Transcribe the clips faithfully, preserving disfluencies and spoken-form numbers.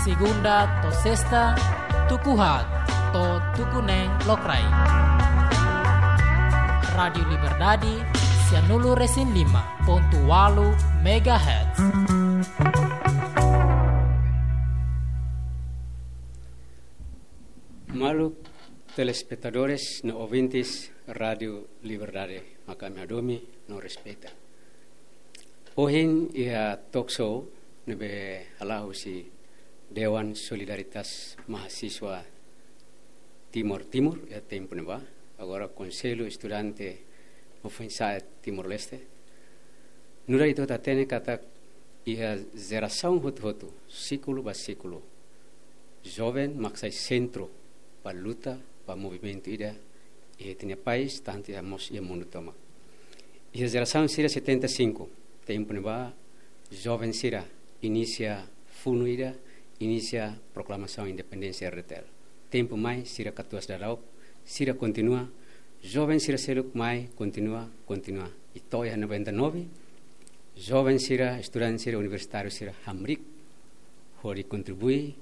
Segunda to'o sesta, tuku haat to'o tuku neen lokraik. Rádiu Liberdade, sianulu-resin-lima pontu ualu megahertz. Maluk telespetadores no ouvintes Rádiu Liberdade, maka ami hadomi no respeita. Ohin iha talk show ne'ebé hala'o husi Dewan Solidaritas Mahasiswa Timor Timur, iha tempu ne'ebá, agora Konsellu Estudante no Foinsa'e Timor-Leste. Nu'udar ita hatene katak iha jerasaun hotu-hotu, síkulu ba síkulu, joven mak sai sentru ba luta, ba movimentu ida iha ita-nia país, tantu iha mós iha mundu tomak. Iha jerasaun sira setenta e cinco, tempu ne'ebá joven sira inisia funu ida, inisia proklamasaun independénsia R D T L. Tempu mai sira katuas daudaun, sira kontinua, joven sira seluk mai kontinua, kontinua. I to'o iha noventa e nove, joven sira, estudante sira, universitáriu sira hamriik hodi kontribui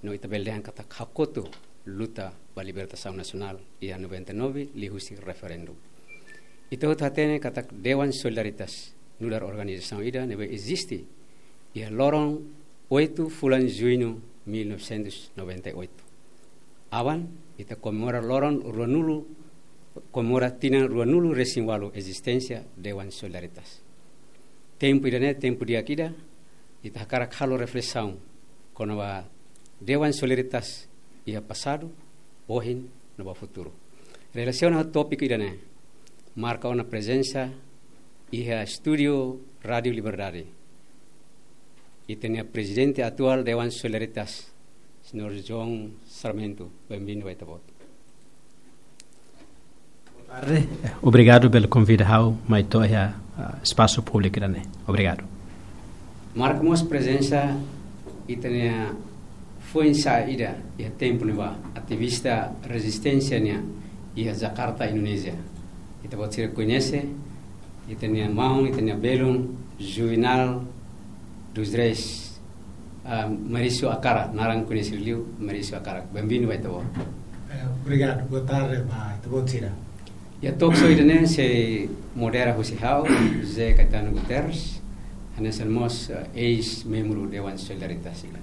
no ita bele dehan katak hakotu luta ba libertasaun nasionál iha noventa e nove, liuhusi referendu. Ita hotu hatene katak Dewan Solidaritas nu'udar organizasaun ida ne'ebé eziste iha loron oito fulan Juñu mil novecentos noventa e oito. Aban, ita komemora loron ruanulu, komemora tinan ruanulu-resin-ualu ezisténsia Dewan Solidaritas. Tempu ida-ne'e tempu di'ak ida, ita hakarak halo reflesaun kona-ba Dewan Solidaritas iha pasadu, ohin no ba futuru. Relasiona ho tópiku ida-ne'e, marka ona prezensa iha estúdiu Rádiu Liberdade ita-nia Prezidente atuál Dewan Solidaritas, Señór João Sarmento. Benvindu ba Ita-Boot. Boa tarde. Obrigadu pela konvida ha'u mai to'o iha, ah, espasu públiku ida-ne'e. Obrigadu. Marka mós prezensa ita-nia foin-sa'e ida iha tempu ne'ebá, ativista rezisténsia nian iha Jakarta, Indonézia. Ita-boot sira koñese ita-nia maun, ita-nia belun, Juvenal dos Reis, ah, Mauricio Akara, naran koñesidu liu Mauricio Akara. Benvindu ba Ita-Boot. Eh, obrigadu, boa tarde ba Ita-Boot sira. Iha talk show ida-ne'e sei modera husi ha'u, José Caetano Guterres, hanesan mós, eh, eis-membru Dewan Solidaritas sira.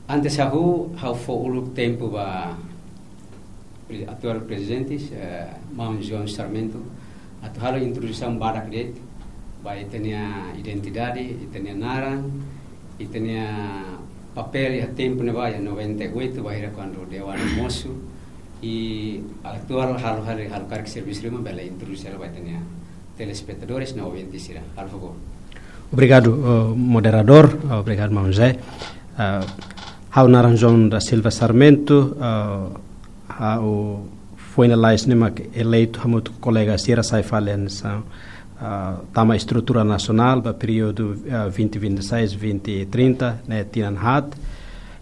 Antes ha'u, ha'u fó uluk tempu ba pre-, atuál prezidente, eh, maun João Sarmento, atu halo introdusaun badak de'it ba ita-nia identidade, ita-nia naran, ita-nia papél iha tempu ne'ebá iha noventa e oito, bainhira kuandu Dewan mosu, i atuál halo, halo, halo karik servisu ruma, bele introdús hela ba ita-nia telespetadores no ouvinte sira. Halo favór. Obrigadu, eh, moderadór. Obrigadu, maun José. Eh, ha'u naran João da Silva Sarmento, eh, ha'u foin lalais ne'e mak eleitu hamutuk ho kolega sira sai fali hanesan, ah, tama estrutura nasionál ba períodu, ah, vinte vinte e seis, vinte trinta, ne'e tinan haat.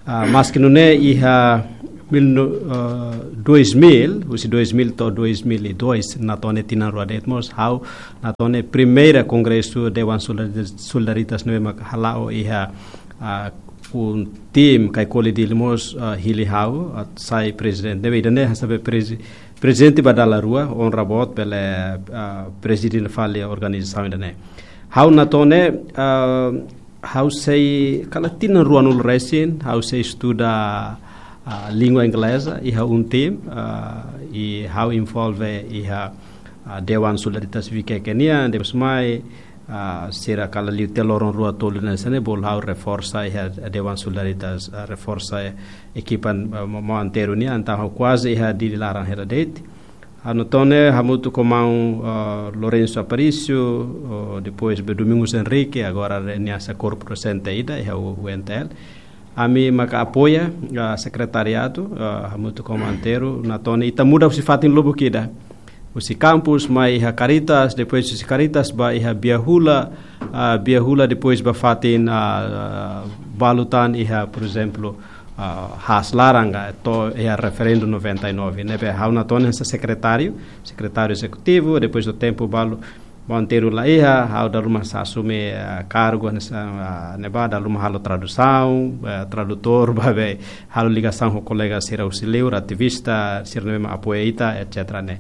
Ah, maski nune'e iha mil no-, ah, dois mil, husi dois mil to'o dois mil e dois, Natone tinan rua de'it mós, ha'u Natone primeira kongresu Dewan Solidari-, Solidaritas ne'ebé mak hala'o iha, ah, UNTIM, Caicoli, Dili mós, ah, hili ha'u, ah, sai prezidente. Ne'ebé ida-ne'e hanesan be prezi-, prezidente ba dala rua, onra boot bele, ah, prezide fali organizasaun ida-ne'e. Ha'u Natone, ah, ha'u sei kala tinan ruanulu-resin, ha'u sei estuda, ah, língua ingleza iha UNTIM, ah, i ha'u envolve iha, ah, Dewan Solidaritas Vikeke nian, depois mai, ah, sira kala liu tiha loron rua tolu hanesan ne'e, bolu ha'u reforsa iha Dewan Solidaritas, ah, reforsa ekipa, ah, mo-, mo anteru nian, entaun ha'u kuaze iha Dili laran hela de'it. Ha'u Natone hamutuk ho maun, ah, Lourenço Aparício, oh, depois be Domingos Henrique, agora re-, nia sai korpu dosente ida iha U-, UNTL. Ami maka apoia, ah, sekretariadu, ah, hamutuk ho maun anteru, Natone ita muda husi fatin lubuk ida. Husi kampus mai iha Caritas, depois husi Caritas ba iha Biahula, ah, Biahula depois ba fatin, ah, balu tan iha, por ezemplu, ah, haas laran ka, to'o iha referendu noventa e nove. Ne'ebé ha'u Natone hanesan sekretáriu, sekretáriu ezekutivu, depois ho tempu balu, Monteiro la iha, ha'u dala ruma asume, eh, kargu hanesan, eh, ne'ebá, dala ruma halo tradusaun, eh, tradutór, ba be halo ligasaun ho kolega sira husi liur, ativista sira ne'ebé mak apoia ita, et cetera ne'e.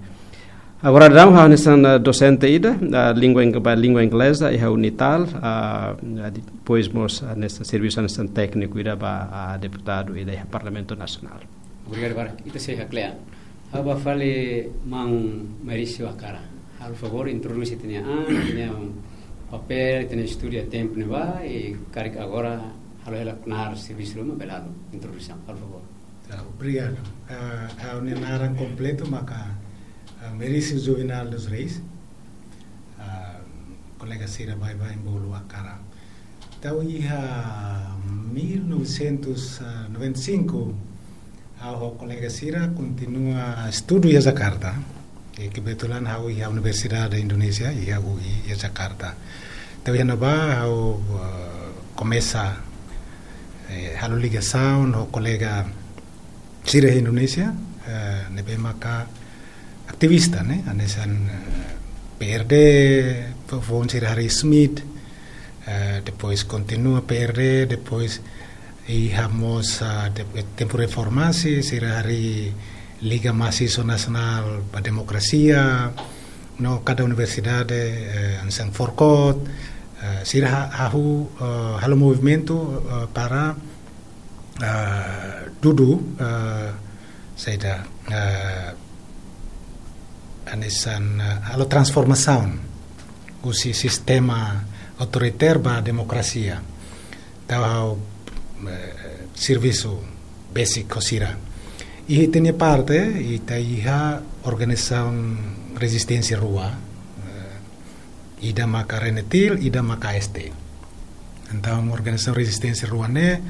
Agora daudaun ha'u hanesan, eh, dosente ida, eh, língua ing-, ba língua ingleza iha Unital, eh, depois mós, eh, hanesan servisu hanesan tékniku ida ba, eh, deputadu ida iha Parlamentu Nasionál. Obrigadu barak. Ita sei hakle'an. Ha'u bá fali maun Mairício Akara. Halo favór introdús ita-nia an, ita-nia papél, ita-nia estudu iha tempu ne'ebá, i karik agora halo hela knaar servisu ruma bele halo introdusaun. Halo favór. Tá, obrigadu. Ah, ha'u-nia naran kompletu maka, ah, Mairício Juvenal dos Reis. Ah, kolega sira baibain bolu Akara. Entaun iha mil novecentos e noventa e cinco, ha'u ho kolega sira kontinua estudu iha Jakarta. I kebetulan ha'u iha Universidade Indonézia, iha U I, iha Jakarta. Entaun iha ne'ebá ha'u, eh, komesa, eh, halo ligasaun ho kolega sira iha Indonézia, eh, ne'ebé maka ativista, ne'e, hanesan, eh, P R D, fo-, foin sira harii SMID, eh, depois kontinua P R D, depois iha mós, ah, de-, tempu reformasi, sira harii Liga Mahasiswa Nasionál ba Demokrasia, no kada universidade, eh, hanesan Forkot, eh, sira ha-, hahú, eh, halo movimentu, eh, para, eh, dudu, eh, saida, eh, hanesan, eh, halo transformasaun husi sistema autoritér ba demokrasia. Entaun ha'u, eh, servisu besik ho sira. I ita-nia parte, ita iha organizasaun rezisténsia rua, eh, ida maka RENETIL, ida maka A S T. Entaun organizasaun rezisténsia rua ne'e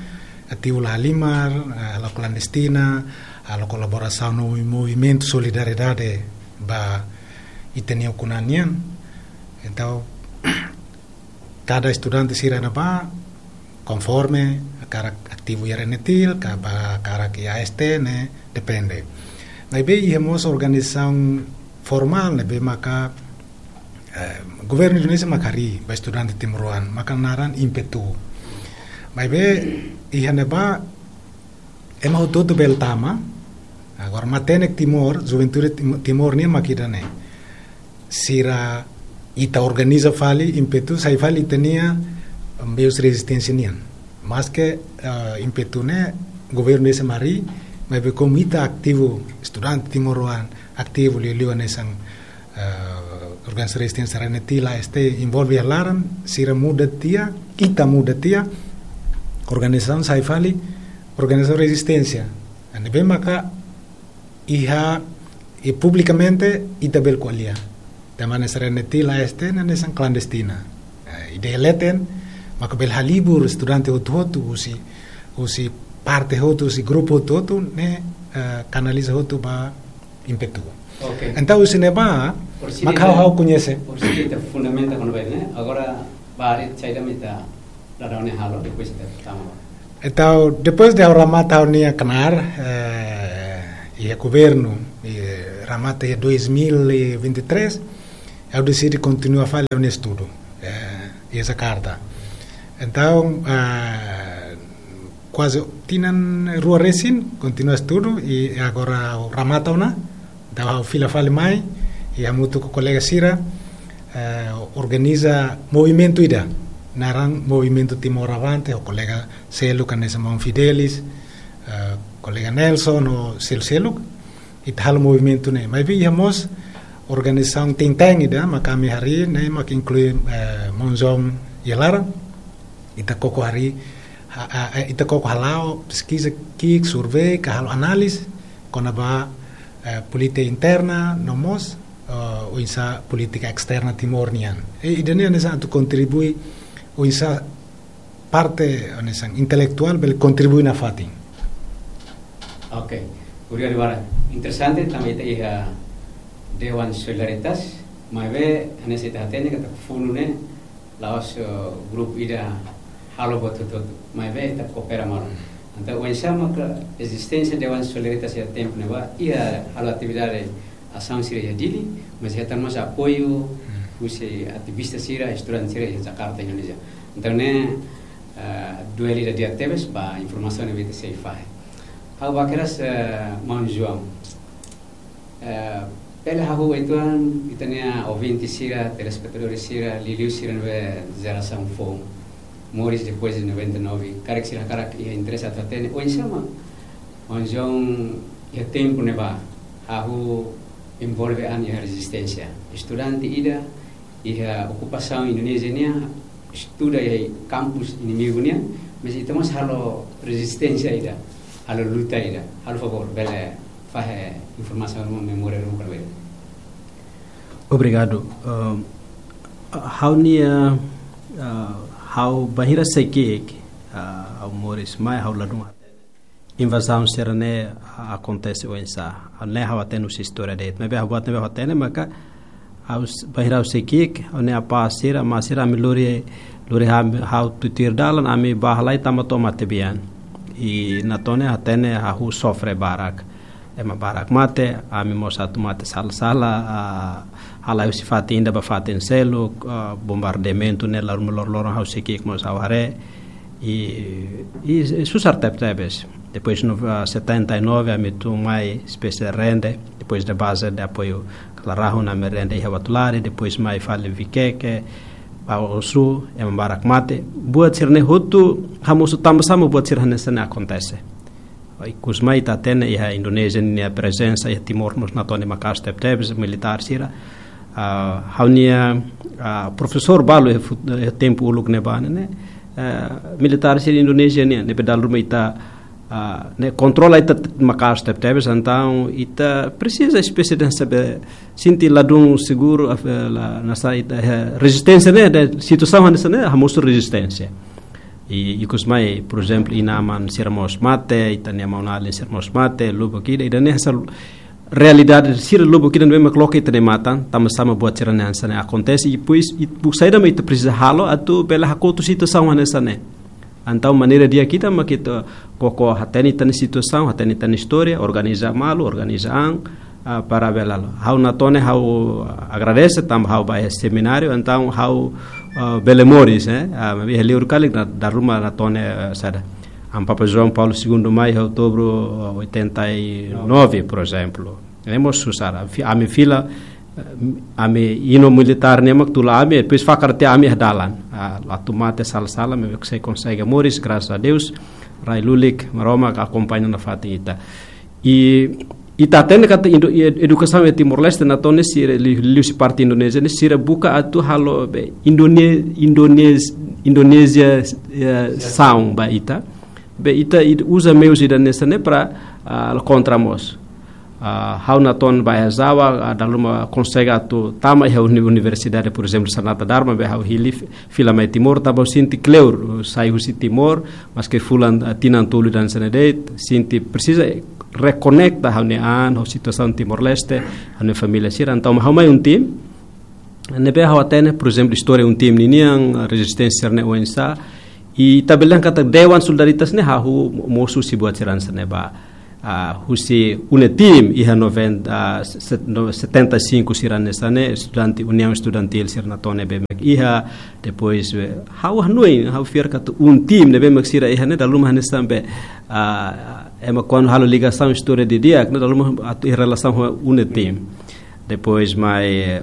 ativu la halimar, eh, halo klandestina, halo kolaborasaun ho movimentu solidariedade ba ita-nia ukun-an nian. Entaun, kada estudante sira ne'ebá, konforme hakarak ativu iha RENETIL, ka ba hakarak iha A S T ne'e, depende. Maibé iha mós organizasaun formál ne'ebé maka, eh, governu Indonézia mak harii ba estudante timoroan, maka naran IMPETU. Maibé iha ne'ebá ema hotu-hotu bele tama. Agora matenek Timor, juventude Tim-, Timor nian mak ida-ne'e. Sira ita organiza fali, IMPETU sai fali ita-nia meius rezisténsia nian. Maske, eh, IMPETU ne'e governu Indonézia mak harii, maibé komu ita ativu, estudante timoroan ativu liuliu hanesan, eh, organizasaun rezisténsia RENETIL, A S T envolve iha laran, sira muda tiha, ita muda tiha, organizasaun sai fali organizasaun rezisténsia. Ne'ebé maka iha, i publikamente ita bele ko'alia. Tanba hanesan RENETIL, A S T ne'e hanesan klandestina. Eh, ideia leten, maka bele halibur estudante hotu-hotu, husi, husi parte hotu, husi grupu hotu-hotu, ne'e, eh, kanaliza hotu ba IMPETU. Oke. Entaun husi ne'ebá, por si maka ita, ha'u koñese. Por si ita fundamenta kona-ba ne'e, agora bá harii saida mak ita daudaun ne'e halo, depois ita tama. Entaun, depois de ha'u remata ha'u-nia knaar, eh, iha governu, eh, remata iha dois mil e vinte e três, ha'u deside kontinua fali ha'u-nia estudu, eh, iha Jakarta. Entaun, eh, kuaze tinan rua resin, kontinua estudu, i agora ha'u remata ona, entaun ha'u fila fali mai, i hamutuk ho kolega sira, eh, organiza movimentu ida, naran Movimentu Timor Avante, ho kolega seluk hanesan maun Fidelis, eh, kolega Nelson, ho sel-, seluk, ita halo movimentu ne'e. Maibé iha mós organizasaun think tank ida, mak ami harii, ne'e mak inklui, eh, maun João iha laran, ita koko harii, ha-, ha-, eh, ita koko hala'o peskiza ki'ik, survei, ka halo análize, kona-ba, eh, polítika interna, no mós, eh, oinsá polítika esterna Timor nian. I, ida-ne'e hanesan atu kontribui, oinsá parte, hanesan intelektuál bele kontribui nafatin. Oke, obrigadu barak. Interesante, tanba ita iha Dewan Solidaritas, maibé hanesan ita hatene katak funu ne'e la'ós, eh, grupu ida halo buat hotu-hotu, maibé ita koopera malu. Entaun, oinsá maka ezisténsia Dewan Solidaritas iha tempu ne'ebá, iha halo atividade asaun sira iha Dili, mas iha tan mós apoiu, hmm, husi ativista sira, estudante sira iha Jakarta, Indonézia. Entaun ne'e, eh, duele ida di'ak tebes ba informasaun ne'ebé ita sei fahe. Ha'u ba keras, eh, maun João. Eh, bele hahú uitoan, ita-nia ouvinte sira, telespetadór sira, liuliu sira ne'ebé jerasaun foun, moris depois de noventa e nove, karik sira hakarak iha interese atu hatene, oinsá mak maun João iha tempu ne'ebá hahú envolve an iha rezisténsia. Estudante ida iha okupasaun Indonézia nian, estuda iha kampus inimigu nian, mas ita mós halo rezisténsia ida, halo luta ida. Halo favór, bele fahe informasaun ruma, memória ruma kona-ba ida. Obrigadu. Ahm, ha'u-nia, ah, ha'u bainhira sei ki'ik, ah, ha'u moris mai, ha'u ladún invazaun sira-ne'e akontese oinsá. Ne'e ha'u hatene husi istória de'it. Maibé ha'u buat ne'ebé ha'u hatene maka ha'u s-, bainhira ha'u sei ki'ik, ha'u-nia apá sira, amá sira, ami lori, lori ha'u, ha'u tutuir dalan, ami bá halai tama to'o Matebian. I Natone hatene hahú sofre barak. Ema barak mate, ami mós atu mate sala-sala, ah, halai husi fatin ida ba fatin seluk, ah, bombardeamentu ne'e loroloron ha'u sei ki'ik mós ha'u haree. I, i, i susar tebetebes. Depois, no, ah, setenta e nove, ami tun mai espésie rende, depois de base de apoio Clarahun, ami rende iha Uatulari, depois mai fali Viqueque, Baossou, ema barak mate. Buat sira-ne'e hotu, hamosu tanba sá mak buat sira hanesan ne'e akontese. Ikus mai ita hatene iha Indonézia nia prezensa iha Timor mós Natone maka'as tebetebes, militár sira. Ah, ha'u-nia, ah, profesór balu iha fut-, iha tempu uluk ne'ebá ne'e, eh, militár sira Indonézia nian, ne'ebé dala ruma ita, ah, ne'e kontrola ita t-, maka'as tebetebes, entaun ita presiza espésie de saber, sente ladún seguru, af-, eh, la, nasa ita, eh, rezisténsia ne'e, de situasaun hanesan ne'e, hamosu rezisténsia. I, ikus mai, por ezemplu, inan-aman sira mós mate, ita-nia maun-alin sira mós mate, lubuk ida, ida-ne'e hanesan realidade sira lubuk ida ne'ebé mak loke ita-nia matan, tanba sá mak buat sira-ne'e hanesan ne'e akontese, i depois, i buat saida mak ita presiza halo, atu bele hakotu situasaun hanesan ne'e. Entaun maneira di'ak ita mak ita koko hatene ita-nia situasaun, hatene ita-nia istória, organiza malu, organiza an, ah, para bele halo. Ha'u Natone, ha'u agradese tanba ha'u bá iha semináriu, entaun ha'u, ah, bele moris, eh? Ah, maibé iha liur karik na, dala ruma Natone, eh, saida. Ami Papa João Paulo Segundo mai iha outubru, ah, oitenta e nove, por ezemplu. Ne'e mós susar, fi-, ami fila, eh, ami inan militár ne'e mak tula ami, depois fakar tiha ami iha dalan. Ah, atu mate sala-sala, maibé sei konsege moris, graças a Deus, rai lulik, Maromak akompaña nafatin ita. I, i ita hatene katak indo-, i ed-, edukasaun iha Timor-Leste, Natone, sira li-, liuhusi parte Indonézia ne'e, sira buka atu halo be Indone-, Indonéz-, Indonézia, eh, saun ba ita. Be ita, ita uza meius ida hanesan ne'e para, ah, kontra mós. Ah, ha'u Natone bá iha Java, ah, dala ruma konsege atu tama iha uni-, universidade, por ezemplu, Sanata Dharma, be ha'u hili fi-, fila mai Timor, tanba ha'u sente kleur, sai husi Timor, maske fulan, ah, tinan tolu ida hanesan ne'e de'it, sente presiza rekonekta ha'u-nia an, ha'u situasaun Timor-Leste, ha'u-nia família sira, entaun ha'u mai un tim, ne'ebé ha'u hatene, por ezemplu, istória un tim ninian, rezisténsia ne'e oinsá, i ita bele dehan katak Dewan Solidaritas ne'e hahú mosu husi buat sira hanesan ne'e ba. Ah, husi UNETIM iha noventa, ah, set-, no, setenta e cinco sira hanesan ne'e, estudante, União Estudantil sira Natone ne'ebé mak iha, depois, eh, ha'u hanoin, ha'u fiar katak un tim ne'ebé mak sira iha ne'e, dala ruma hanesan be, ah, ema kuandu halo ligasaun istória didi'ak, ne'e dala ruma atu iha relasaun ho UNETIM. Depois mai, eh,